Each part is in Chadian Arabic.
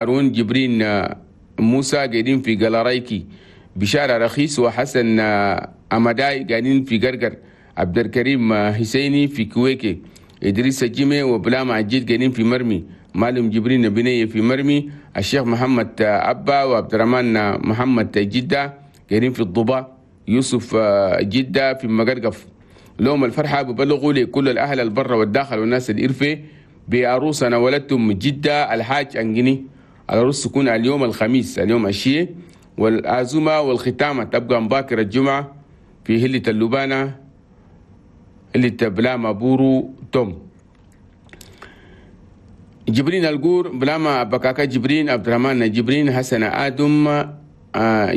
هارون جبرين موسى قاعدين في قلارايكي، بشارة رخيص وحسن أمداي قاعدين في قرقر، عبد الكريم حسيني في كويكي، إدريس الجمي وبلام عجيد قاعدين في مرمي، مالم جبرين بنية في مرمي، الشيخ محمد أبا وعبد الرحمن محمد جدة قاعدين في الضبا، يوسف جدة في مقرقف. لهم الفرحة ببلغوا لكل الأهل البر والداخل والناس الإرفة بعروس أنا ولدتم جدة الحاج أنجني. العروس تكون اليوم الخميس اليوم الشيء، والعزومة والختامة تبقى مباكر الجمعة في هلة اللبانة هلة بلاما بورو توم. جبرين القور بلاما بكاكا جبرين عبد الرحمن جبرين حسن آدم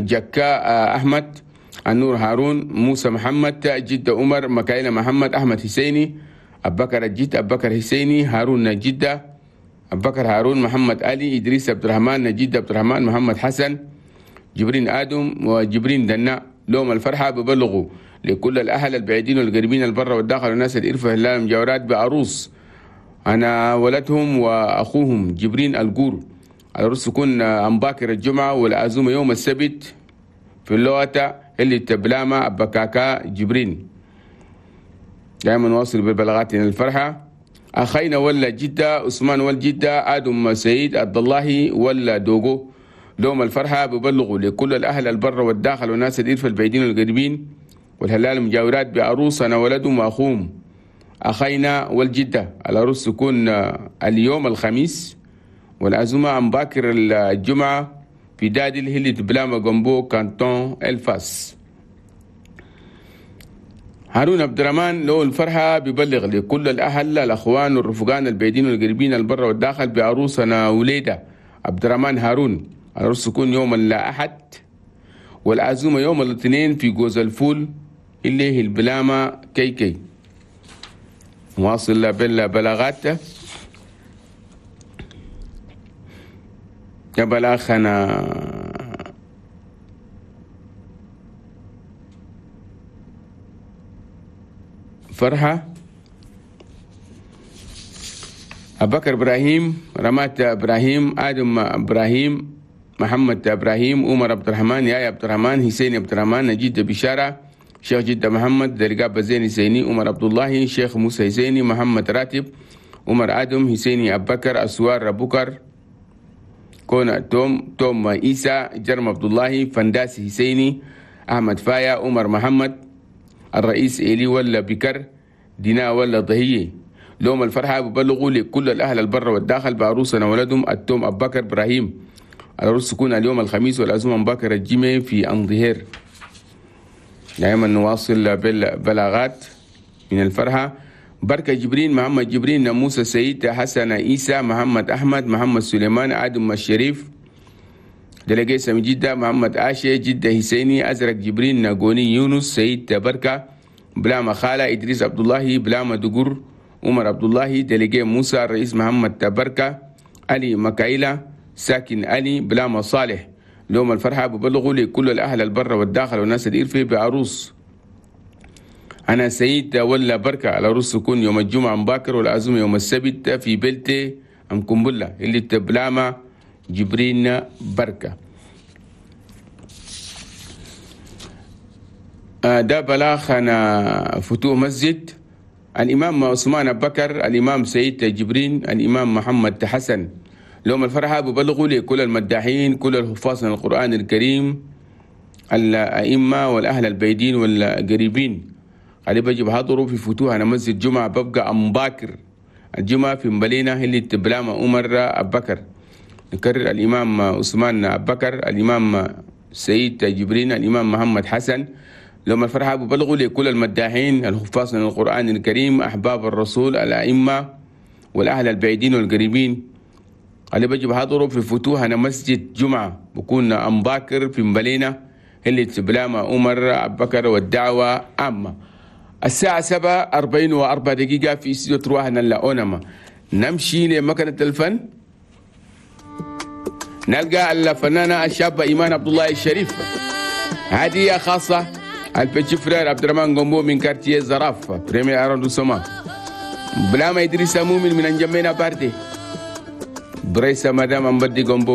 جكا أحمد النور هارون موسى محمد جدة عمر مكايلة محمد أحمد حسيني أبكر الجد أبكر حسيني هارون جدة أبكر هارون محمد علي إدريس عبد الرحمن نجيد عبد الرحمن محمد حسن جبرين آدم وجبرين دناء. لهم الفرحة ببلغوا لكل الأهل البعيدين والقريبين البر والداخل والناس الإرفة هلال المجاورات بعروس أنا ولدهم وأخوهم جبرين القور. العروس تكون أمباكر الجمعة والعزومة يوم السبت في اللوطة اللي تبلاما بكاكا جبرين. دائما نواصل بالبلاغات الفرحة. أخينا ولا جدة عثمان والجدة آدم سعيد عبد الله ولا دوغو. لهم الفرحة ببلغوا لكل الأهل البر والداخل والناس الإرفة البعيدين والقريبين والهلال المجاورات بعروس أنا ولدهم وأخوهم أخينا والجدة. العروس تكون اليوم الخميس والعزومة عن باكر الجمعة في دادل هلة بلاما جنبو كانتون الفاس. هارون عبد الرحمن له الفرحة ببلغ لكل الأهل الأخوان والرفقان البعيدين والقريبين البر والداخل بعروسنا وليدة عبد الرحمن هارون. العروس تكون يوم الأحد والعزومة يوم الاثنين في جوز الفول اللي هي البلامة كي كي. واصل بالبلاغات يا بلاغنا فرحة أبكر إبراهيم رمات إبراهيم آدم إبراهيم محمد إبراهيم عمر عبد الرحمن يا عبد الرحمن حسين عبد الرحمن نجيد بشارة شيخ جدة محمد درقاب زين حسيني عمر عبد الله شيخ موسى حسيني محمد راتب عمر آدم حسيني أبكر أسوار بكر كونا توم توم إيسى جرم عبد الله فنداسي حسيني أحمد فايا عمر محمد الرئيس إيلي ولا بكر دينا ولا ضهية. لهم الفرحة ببلغوا لكل الأهل البر والداخل بعروسنا ولدهم التوم أبكر إبراهيم. العروس تكون اليوم الخميس والعزومة بكر الجمعة في أنظهير. دائما نواصل بالبلاغات من الفرحة. بركة جبرين محمد جبرين موسى سعيد حسن عيسى محمد أحمد محمد سليمان آدم الشريف دلقيس من جدة محمد آشي جدة حسيني أزرق جبرين ناقوني يونس سعيد بركة بلاما خالة إدريس عبد الله بلاما دقر عمر عبد الله دلقي موسى الرئيس محمد بركة علي مكايلة ساكن علي بلاما صالح. لهم الفرحة ببلغوا لكل الأهل البر والداخل والناس الإرفة بعروس أنا سعيد ولا بركة. العروس تكون يوم الجمعة مباكر والعزومة يوم السبت في بلتي أم كنبلة اللي تبلاما جبرين بركة. ده بلاغ أنا فتوح مسجد الإمام عثمان بكر الإمام سعيد جبرين الإمام محمد حسن. لهم الفرحة ببلغوا لكل المداحين كل الحفاظ من القرآن الكريم الأئمة والأهل البعيدين والقريبين. قال بجي بحضروا في فتوح أنا مسجد جمعة ببقى أم باكر الجمعة في مبلينة اللي تبلاما عمر أبكر. نكرر الإمام عثمان بكر الإمام سعيد جبرين الإمام محمد حسن. لهم الفرحة ببلغوا لكل المداحين الحفاظ من القرآن الكريم أحباب الرسول الأئمة والأهل البعيدين والقريبين. اللي بجي بحضروا في فتوح أنا مسجد جمعة بكون أم باكر في مبلينة اللي تبلاما عمر أبكر والدعوة عامة. الساعة 7:44 في استوديو ترواحنا لأونما. نمشي لمكنة الفن نلقى الفنانة الشابة إيمان عبد الله الشريف. هدية خاصة ال petit frère عبد الرحمن قنبو من quartier زراف premier arrondissement بلاما إدريس مؤمن من انجمينا باردي. Braisa Madame Ambadi Gombo.